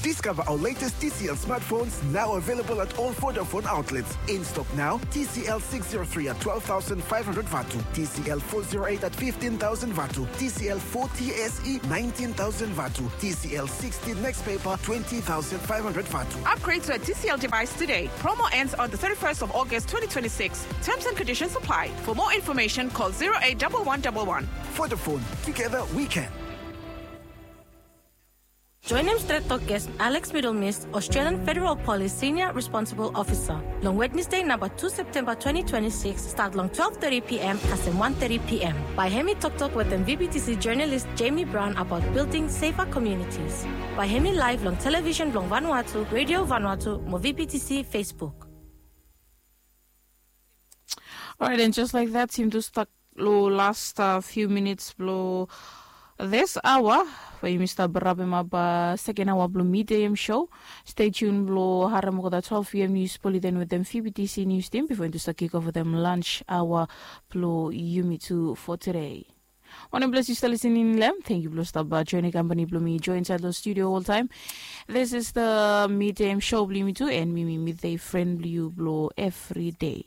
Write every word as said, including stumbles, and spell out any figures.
Discover our latest T C L smartphones, now available at all Vodafone outlets. In stock now, T C L six zero three at twelve thousand five hundred vatu, T C L four zero eight at fifteen thousand vatu, T C L forty S E nineteen thousand vatu, T C L sixty next paper twenty thousand five hundred vatu. Upgrade to a T C L device today. Promo ends on the thirty-first of August twenty twenty-six. Terms and conditions apply. For more information, call zero eight double one double one. Vodafone, together we can. Joenem stret tok ges Alex Middlemist, Australian Federal Police Senior Responsible Officer, long Wednesday namba tu Septemba twenty twenty-six, stat long twelve thirty p.m. kasem one thirty p.m. Bae hem i toktok wetem V B T C journalist Jamie Brown about building safer communities. Bae hem i live long television blong Vanuatu, Radio Vanuatu mo V B T C Facebook. Alright, and just like that, yumi tu stap lo last uh, few minutes blo this hour, we yumi stap wrapping up uh, second hour blo midday show. Stay tuned blo harem olgeta twelve p.m. news bulletin wetem V B T C news team before yumi tu stap kick off wetem lunch hour blo yumi tu for today. Wanem ples yu stap listening long hem, thank yu blo stap uh, joining company blo mi join inside lo studio all time. This is the midday show blo yumi tu, and mi mi midday friend blo yu blo every day.